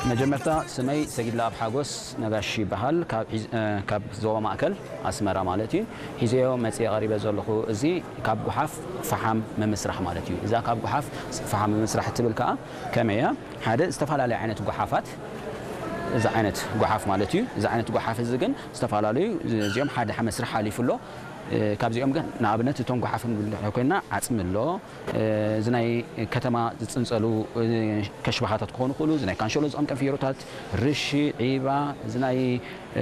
መጀመርታ ስመይ ሰጊድላ ኣብ ሓጎስ ነጋሽ ይበሃል። ካብ ዞባ ማእከል ኣስመራ ማለት እዩ። ሒዘዮ መጽየ ቀሪበ ዘለኹ እዚ ካብ ጓሓፍ ፈሓም ምምስራሕ ማለት እዩ። እዛ ካብ ጓሓፍ ፈሓም ምምስራሕ እትብል ከኣ ከመይ እያ? ሓደ ዝተፈላለየ ዓይነት ጓሓፋት፣ እዚ ዓይነት ጓሓፍ ማለት እዩ። እዚ ዓይነት ጓሓፍ እዚ ግን ዝተፈላለዩ፣ እዚኦም ሓደ መስርሕ ሓሊፉ ኣሎ። ካብዚኦም ግን ንኣብነት እቶም ጓሓፍ ንብል ኮይና ዓጽሚ ኣሎ። እዚ ናይ ከተማ ዝጽንጸሉ ከሽባኻታት ክኾኑ ይኽእሉ፣ እዚ ናይ ካንሸሎ ዝቐምቀም ፍየሮታት፣ ርሺ፣ ዒባ፣ እዚ ናይ